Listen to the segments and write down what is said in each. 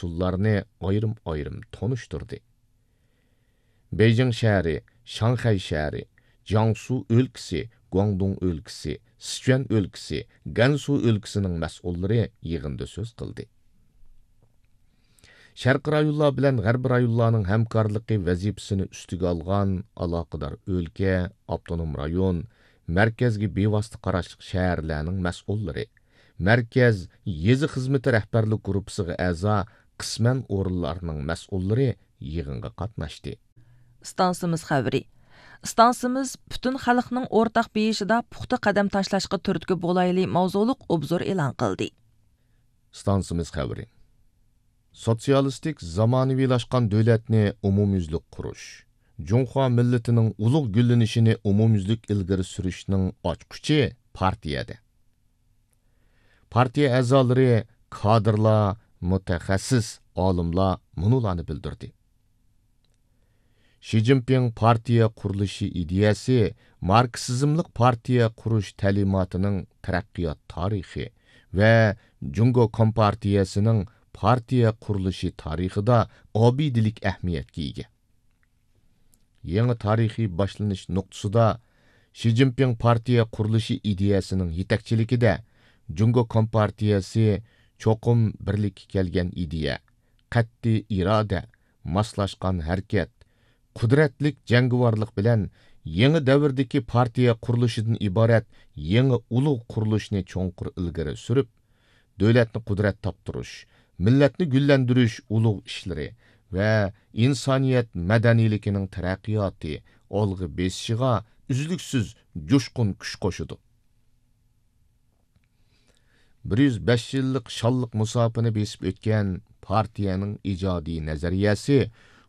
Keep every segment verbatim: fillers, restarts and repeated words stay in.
مەسئۇللارنى ئايرىم-ئايرىم تونۇشتۇردى. بېيجىڭ شەھىرى، شاڭخەي شەھىرى، جياڭسۇ ئۆلكىسى، گۇاڭدۇڭ ئۆلكىسى، سىچۈەن ئۆلكىسى، گەنسۇ ئۆلكىسىنىڭ مەسئۇللىرى يىغىندا سۆز قىلدى. شەرقىي رايونلار بىلەن غەربىي رايونلارنىڭ ھەمكارلىقى ۋەزىپىسىنى ئۈستىگە ئالغان ئالاقىدار ئۆلكە، ئاپتونوم رايون، مەركەزگە بىۋاسىتە قاراشلىق شەھەرلەرنىڭ مەسئۇللىرى، مەركەز يېزا خىزمىتى رەھبەرلىك گۇرۇپپىسىغا ئەزا قىسمەن ئورۇنلارنىڭ مەسئۇللىرى يىغىنغا قاتناشتى. ئىستانسىمىز خەۋىرى. ئىستانسىمىز پۈتۈن خەلقنىڭ ئورتاق بېيىشىدا پۇختا قەدەم تاشلاشقا تۈرتكە بولايلى ماۋزۇلۇق ئوبزور ئېلان قىلدى. ئىستانسىمىز خەۋىرى. سوتسىيالىستىك زامانىۋىلاشقان دۆلەتنى ئومۇميۈزلۈك قۇرۇش، جۇڭخۇا مىللىتىنىڭ ئۇلۇغ گۈللىنىشىنى ئومۇميۈزلۈك ئىلگىرى سۈرۈشنىڭ ئاچقۇچى پارتىيەدە. پارتىيە ئەزالىرى، كادىرلار، مۇتەخەسسىس، ئالىملار مۇنۇلارنى بىلدۈردى. شى جىنپىڭ پارتىيە قۇرۇلۇشى ئىدىيەسى ماركسىزملىق پارتىيە قۇرۇش تەلىماتىنىڭ تەرەققىيات تارىخى ۋە جۇڭگو كومپارتىيەسىنىڭ پارتىيە قۇرۇلۇشى تارىخىدا ئابىدىلىك ئەھمىيەتكە ئىگە. يېڭى تارىخىي باشلىنىش نۇقتىسىدا شى جىنپىڭ پارتىيە قۇرۇلۇشى ئىدىيەسىنىڭ يېتەكچىلىكىدە جۇڭگو كومپارتىيەسى چوقۇم بىرلىككە كەلگەن ئىدىيە، قەتئىي ئىرادە، ماسلاشقان ھەرىكەت، قۇدرەتلىك جەڭگىۋارلىق بىلەن يېڭى دەۋردىكى پارتىيە قۇرۇلۇشىدىن ئىبارەت يېڭى ئۇلۇغ قۇرۇلۇشنى چوڭقۇر ئىلگىرى سۈرۈپ، دۆلەتنى قۇدرەت تاپتۇرۇش، مىللەتنى گۈللەندۈرۈش ئۇلۇغ ئىشلىرى ۋە ئىنسانىيەت مەدەنىيلىكىنىڭ تەرەققىياتى ئالغا بېسىشىغا ئۈزلۈكسىز جۇشقۇن كۈچ قوشىدۇ. بىر يۈز بەش يىللىق شانلىق مۇساپىنى بېسىپ ئۆتكەن پارتىيەنىڭ ئىجادىي نەزەرىيەسى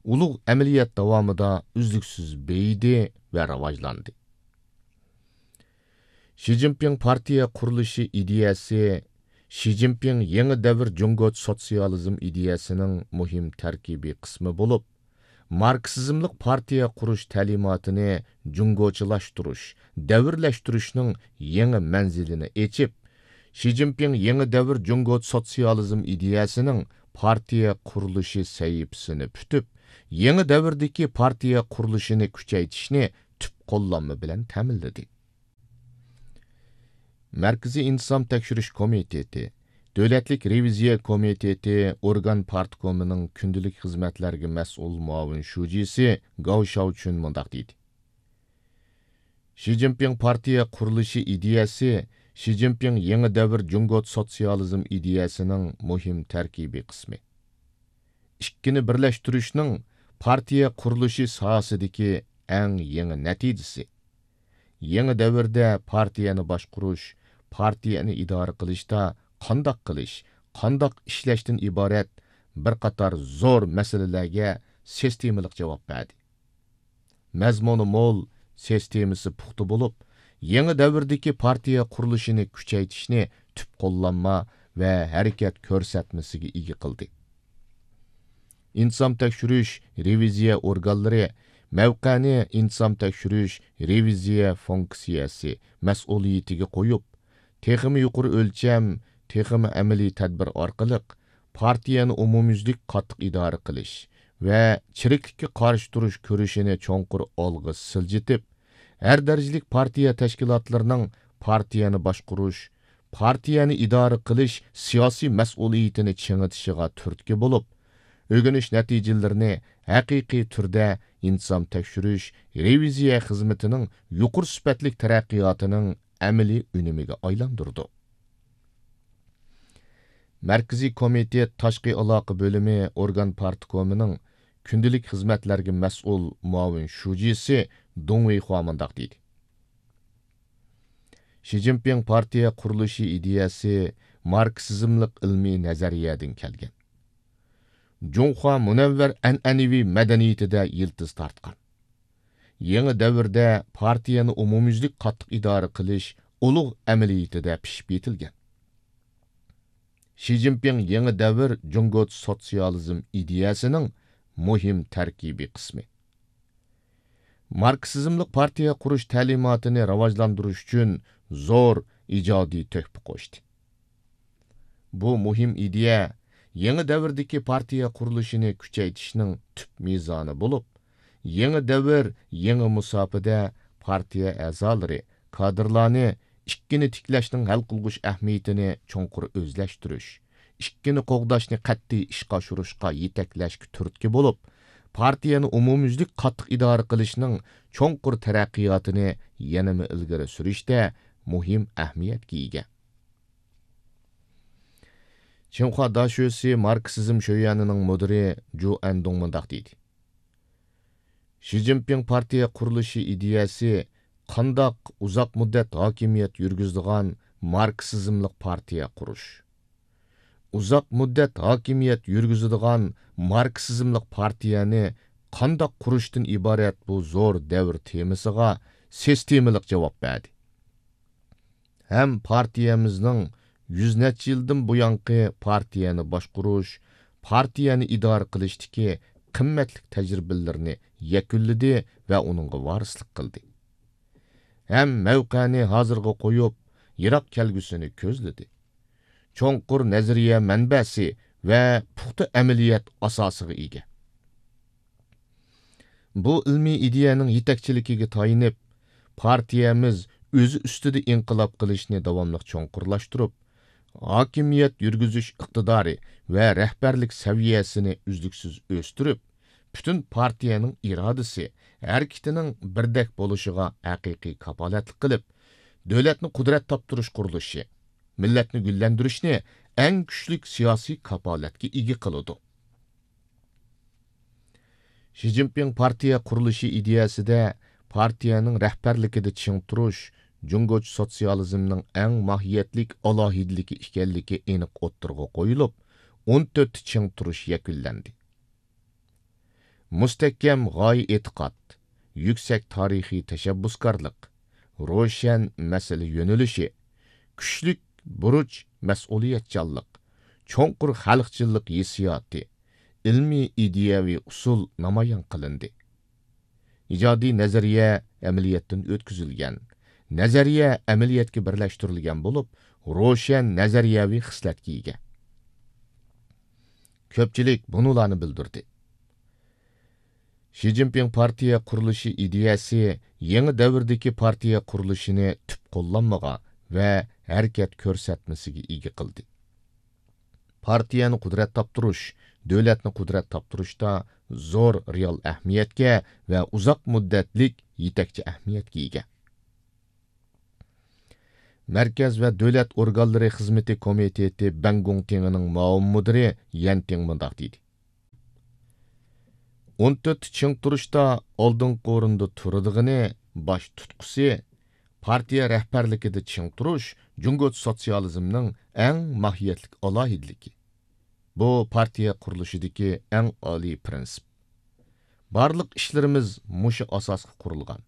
ئۇلۇغ ئەمەلىيەت داۋامىدا ئۈزلۈكسىز بېيىدى ۋە راۋاجلاندى. شى جىنپىڭ پارتىيە قۇرۇلۇشى ئىدىيەسى شى جىنپىڭ يېڭى دەۋر جۇڭگو سوتسىيالىزم ئىدىيەسىنىڭ مۇھىم تەركىبىي قىسمى بولۇپ، ماركسىزملىق پارتىيە قۇرۇش تەلىماتىنى جۇڭگوچىلاشتۇرۇش، دەۋرلەشتۈرۈشنىڭ يېڭى مەنزىلىنى ئېچىپ، شى جىنپىڭ يېڭى دەۋر جۇڭگو سوتسىيالىزم ئىدىيەسىنىڭ پارتىيە قۇرۇلۇشى سەھىپىسىنى پۈتۈپ، يېڭى دەۋردىكى پارتىيە قۇرۇلۇشىنى كۈچەيتىشنى تۈپ قوللانما بىلەن تەمىنلىدى. مەركىزىي ئىنتىزام تەكشۈرۈش كومىتېتى، دۆلەتلىك رېۋىزىيە كومىتېتى ئورگان پارتكومىنىڭ كۈندىلىك خىزمەتلەرگە مەسئۇل مۇئاۋىن شۇجىسى گاۋ شياۋچۈن مۇنداق دېدى: شى جىنپىڭ پارتىيە قۇرۇلۇشى ئىدىيەسى شى جىنپىڭ يېڭى دەۋر جۇڭگو سوتسىيالىزم ئىدىيەسىنىڭ مۇھىم تەركىبىي قىسمى. ئىككىنى بىرلەشتۈرۈشنىڭ پارتىيە قۇرۇلۇشى ساھەسىدىكى ئەڭ يېڭى نەتىجىسى. يېڭى دەۋردە پارتىيەنى باشقۇرۇش، پارتىيەنى ئىدارە قىلىشتا قانداق قىلىش، قانداق ئىشلەشتىن ئىبارەت بىر قاتار زور مەسىلىلەرگە سىستېمىلىق جاۋاب بەردى. مەزمۇنى مول، سىستېمىسى پۇختا بولۇپ، يېڭى دەۋردىكى پارتىيە قۇرۇلۇشىنى كۈچەيتىشنى تۈپ قوللانما ۋە ھەرىكەت كۆرسەتمىسىگە ئىگە قىلدى. ئىنتىزام تەكشۈرۈش، رېۋىزىيە ئورگانلىرى مەۋقەنى ئىنتىزام تەكشۈرۈش، رېۋىزىيە فۇنكسىيەسى مەسئۇلىيىتىگە قويۇپ، تېخىمۇ يۇقىرى ئۆلچەم، تېخىمۇ ئەمەلىي تەدبىر ئارقىلىق پارتىيەنى ئومۇميۈزلۈك قاتتىق ئىدارە قىلىش ۋە چىرىكلىككە قارشى تۇرۇش كۈرىشىنى چوڭقۇر ئالغا سىلجىتىپ، ھەر دەرىجىلىك پارتىيە تەشكىلاتلىرىنىڭ پارتىيەنى باشقۇرۇش، پارتىيەنى ئىدارە قىلىش سىياسىي مەسئۇلىيىتىنى چىڭىتىشىغا تۈرتكە بولۇپ، ئۆگىنىش نەتىجىلىرىنى ھەقىقىي تۈردە ئىنتىزام تەكشۈرۈش، رېۋىزىيە خىزمىتىنىڭ يۇقىرى سۈپەتلىك تەرەققىياتىنىڭ ئەمەلىي ئۈنۈمىگە ئايلاندۇرىدۇ. مەركىزىي كومىتېت تاشقى ئالاقە بۆلۈمى ئورگان پارتكومىنىڭ كۈندىلىك خىزمەتلەرگە مەسئۇل مۇئاۋىن شۇجىسى دۇڭ ۋېيخۇا مۇنداق دېدى: شى جىنپىڭ پارتىيە قۇرۇلۇشى ئىدىيەسى ماركسىزملىق ئىلمىي نەزەرىيەدىن كەلگەن. جۇڭخۇا مۇنەۋۋەر ئەنئەنىۋى مەدەنىيىتىدە يىلتىز تارتقان. يېڭى دەۋردە پارتىيەنى ئومۇميۈزلۈك قاتتىق ئىدارە قىلىش ئۇلۇغ ئەمەلىيىتىدە پىشىپ يېتىلگەن. شى جىنپىڭ يېڭى دەۋر جۇڭگو سوتسىيالىزم ئىدىيەسىنىڭ مۇھىم تەركىبىي قىسمى. ماركسىزملىق پارتىيە قۇرۇش تەلىماتىنى راۋاجلاندۇرۇش ئۈچۈن زور ئىجادىي تۆھپە قوشتى. بۇ مۇھىم ئىدىيە يېڭى دەۋردىكى پارتىيە قۇرۇلۇشىنى كۈچەيتىشنىڭ تۈپ مىزانى بولۇپ، يېڭى دەۋر، يېڭى مۇساپىدە پارتىيە ئەزالىرى، كادىرلارنى ئىككىنى تىكلەشنىڭ ھەل قىلغۇچ ئەھمىيىتىنى چوڭقۇر ئۆزلەشتۈرۈش، ئىككىنى قوغداشنى قەتئىي ئىشقا ئاشۇرۇشقا يېتەكلەشكە تۈرتكە بولۇپ، پارتىيەنى ئومۇميۈزلۈك قاتتىق ئىدارە قىلىشنىڭ چوڭقۇر تەرەققىياتىنى يەنىمۇ ئىلگىرى سۈرۈشتە مۇھىم ئەھمىيەتكە ئىگە. چىڭخۇا داشۆسى ماركسىزم شۆيۈەنىنىڭ مۇدىرى جۇ ئەندۇڭ مۇنداق دېدى: شى جىنپىڭ پارتىيە قۇرۇلۇشى ئىدىيەسى قانداق ئۇزاق مۇددەت ھاكىمىيەت يۈرگۈزىدىغان ماركسىزملىق پارتىيە قۇرۇش. ئۇزاق مۇددەت ھاكىمىيەت يۈرگۈزىدىغان ماركسىزملىق پارتىيەنى قانداق قۇرۇشتىن ئىبارەت بۇ زور دەۋر تېمىسىغا سىستېمىلىق جاۋاب بەردى. ھەم پارتىيەمىزنىڭ يۈز نەچچە يىلدىن بۇيانقى پارتىيەنى باشقۇرۇش، پارتىيەنى ئىدارە قىلىشتىكى قىممەتلىك تەجرىبىلىرىنى يەكۈنلىدى ۋە ئۇنىڭغا ۋارىسلىق قىلدى. ھەم مەۋقەنى ھازىرغا قويۇپ، يىراق كەلگۈسىنى كۆزلىدى. چوڭقۇر نەزەرىيە مەنبەسى ۋە پۇختا ئەمەلىيەت ئاساسىغا ئىگە. بۇ ئىلمىي ئىدىيەنىڭ يېتەكچىلىكىگە تايىنىپ، پارتىيەمىز ئۆزى ئۈستىدە ئىنقىلاب قىلىشنى داۋاملىق چوڭقۇرلاشتۇرۇپ، ھاكىمىيەت يۈرگۈزۈش ئىقتىدارى ۋە رەھبەرلىك سەۋىيەسىنى ئۈزلۈكسىز ئۆستۈرۈپ، پۈتۈن پارتىيەنىڭ ئىرادىسى، ھەرىكىتىنىڭ بىردەك بولۇشىغا ھەقىقىي كاپالەتلىك قىلىپ، دۆلەتنى قۇدرەت تاپتۇرۇش قۇرۇلۇشى، مىللەتنى گۈللەندۈرۈشنى ئەڭ كۈچلۈك سىياسىي كاپالەتكە ئىگە قىلىدۇ. شى جىنپىڭ پارتىيە قۇرۇلۇشى ئىدىيەسىدە پارتىيەنىڭ رەھبەرلىكىدە چىڭ تۇرۇش جۇڭگوچە سوتسىيالىزمنىڭ ئەڭ ماھىيەتلىك ئالاھىدىلىكى ئىكەنلىكى ئېنىق ئوتتۇرىغا قويۇلۇپ، ئون تۆتتە چىڭ تۇرۇش يەكۈنلەندى. مۇستەھكەم غايە ئېتىقاد، يۈكسەك تارىخىي تەشەببۇسكارلىق، روشەن مەسىلە يۆنىلىشى، كۈچلۈك بۇرچ مەسئۇلىيەتچانلىق، چوڭقۇر خەلقچىللىق ھېسسىياتى، ئىلمىي ئىدىيەۋى ئۇسۇل نامايان قىلىندى. ئىجادىي نەزەرىيە ئەمەلىيەتتىن ئۆتكۈزۈلگەن، نەزەرىيە ئەمەلىيەتكە بىرلەشتۈرۈلگەن بولۇپ، روشەن نەزەرىيەۋى خىسلەتكە ئىگە. كۆپچىلىك بۇنىلارنى بىلدۈردى. شى جىنپىڭ پارتىيە قۇرۇلۇشى ئىدىيەسى يېڭى دەۋردىكى پارتىيە قۇرۇلۇشىنى تۈپ قوللانمىغا ۋە ھەرىكەت كۆرسەتمىسىگە ئىگە قىلدى. پارتىيەنى قۇدرەت تاپتۇرۇش، دۆلەتنى قۇدرەت تاپتۇرۇشتا زور رېئال ئەھمىيەتكە ۋە ئۇزاق مۇددەتلىك يېتەكچى ئەھمىيەتكە ئىگە. مەركەز ۋە دۆلەت ئورگانلىرى خىزمىتى كومىتېتى بەڭگوڭتىڭىنىڭ مۇئاۋىن مۇدىرى يەن تىڭ مۇنداق دېدى: ئون تۆتتە چىڭ تۇرۇشتا ئالدىنقى ئورۇندا تۇرىدىغىنى، باش تۇتقۇسى، پارتىيە رەھبەرلىكىدە چىڭ تۇرۇش جۇڭگوچە سوتسىيالىزمنىڭ ئەڭ ماھىيەتلىك ئالاھىدىلىكى. بۇ پارتىيە قۇرۇلۇشىدىكى ئەڭ ئالىي پىرىنسىپ. بارلىق ئىشلىرىمىز مۇشۇ ئاساسقا قۇرۇلغان،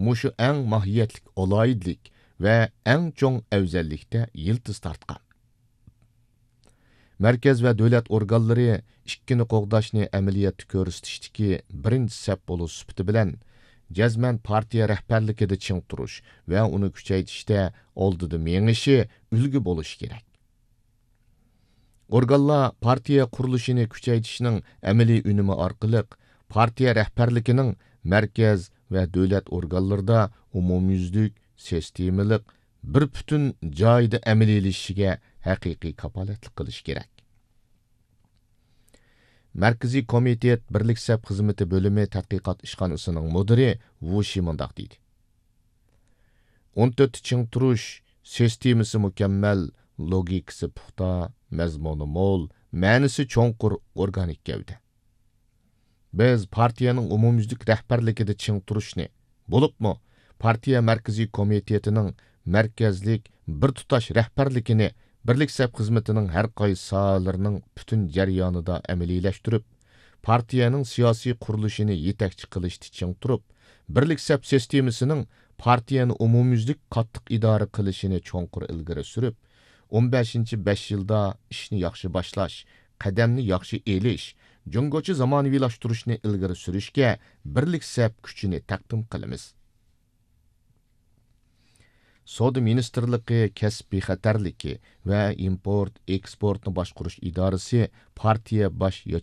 مۇشۇ ئەڭ ماھىيەتلىك ئالاھىدىلىك ۋە ئەڭ چوڭ ئەۋزەللىكتە يىلتىز تارتقان. مەركەز ۋە دۆلەت ئورگانلىرى ئىككىنى قوغداشنى ئەمەلىيەتتە كۆرسىتىشتىكى بىرىنچى سەپ بولۇش سۈپىتى بىلەن، جەزمەن پارتىيە رەھبەرلىكىدە چىڭ تۇرۇش ۋە ئۇنى كۈچەيتىشتە ئالدىدا مېڭىشى، ئۈلگە بولۇشى كېرەك. ئورگانلار پارتىيە قۇرۇلۇشىنى كۈچەيتىشنىڭ ئەمەلىي ئۈنۈمى ئارقىلىق، پارتىيە رەھبەرلىكىنىڭ مەركەز ۋە دۆلەت ئورگانلىرىدا ئومۇميۈزلۈك، سىستېمىلىق، بىر پۈتۈن جايىدا ئەمەلىيلىشىشىگە ھەقىقىي كاپالەتلىك قىلىشى كېرەك. مەركىزىي كومىتېت بىرلىك سەپ خىزمىتى بۆلۈمى تەتقىقات ئىشخانىسىنىڭ مۇدىرى ۋۇ شى مۇنداق دېدى: ئون تۆتتە چىڭ تۇرۇش سىستېمىسى مۇكەممەل، لوگىكىسى پۇختا، مەزمۇنى مول، مەنىسى چوڭقۇر ئورگانىك گەۋدە. بىز پارتىيەنىڭ ئومۇميۈزلۈك رەھبەرلىكىدە چىڭ تۇرۇشنى، بولۇپمۇ پارتىيە مەركىزىي كومىتېتىنىڭ مەركەزلىك بىر تۇتاش رەھبەرلىكىنى، بىرلىك سەپ خىزمىتىنىڭ ھەر قايسى ساھەلىرىنىڭ پۈتۈن جەريانىدا ئەمەلىيلەشتۈرۈپ، پارتىيەنىڭ سىياسىي قۇرۇلۇشىنى يېتەكچى قىلىشتا چىڭ تۇرۇپ، بىرلىك سەپ سىستېمىسىنىڭ پارتىيەنى ئومۇميۈزلۈك قاتتىق ئىدارە قىلىشىنى چوڭقۇر ئىلگىرى سۈرۈپ، ئون بەشىنچى بەش يىلدا ئىشنى ياخشى باشلاش، قەدەمنى ياخشى ئېلىش، جۇڭگوچە زامانىۋىلاشتۇرۇشنى ئىلگىرى سۈرۈشكە بىرلىك سەپ كۈچىنى تەقدىم قىلىمىز. سودا مىنىستىرلىقى كەسىپ بىخەتەرلىكى ۋە ئىمپورت ئېكسپورتنى باشقۇرۇش ئىدارىسى پارتىيە باش